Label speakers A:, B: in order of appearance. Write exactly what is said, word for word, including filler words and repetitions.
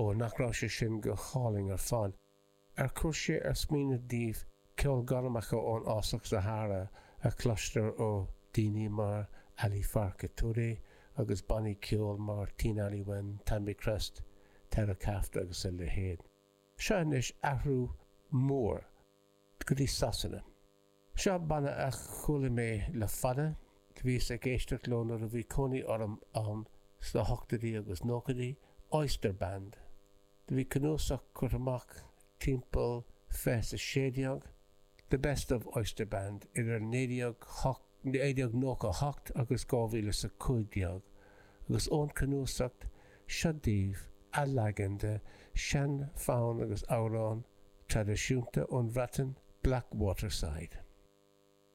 A: Ó, nach raibh sé sin go hálainn ar fad? Ar chuir sé ar smaoineamh daoibh ceolghairmeacha ón fhásach Sahara a chloistear ó daoine mar Ali Farka Touré agus bannaí ceoil mar Tinariwen, Tamikrest, Terakaft agus a leithéid. Seo anois athrú mór go dtí Sasana. Seo banna a chuala mé le fada, do bhíos ag éisteacht leo nuair a bhí cónaí orm ann sna hochtóidí agus nóchaidí, Oyster Band. Do bhí cnuasach curtha amach timpeall fiche is a sé déag, The Best of Oyster Band, idir naoi déag naoi déag nócha a hocht agus dhá mhíle is a cúig déag, agus ón cnuasach seo daoibh athleagan de sean-fhonn agus amhrán traidisiúnta ón Bhreatain, Blackwater Side.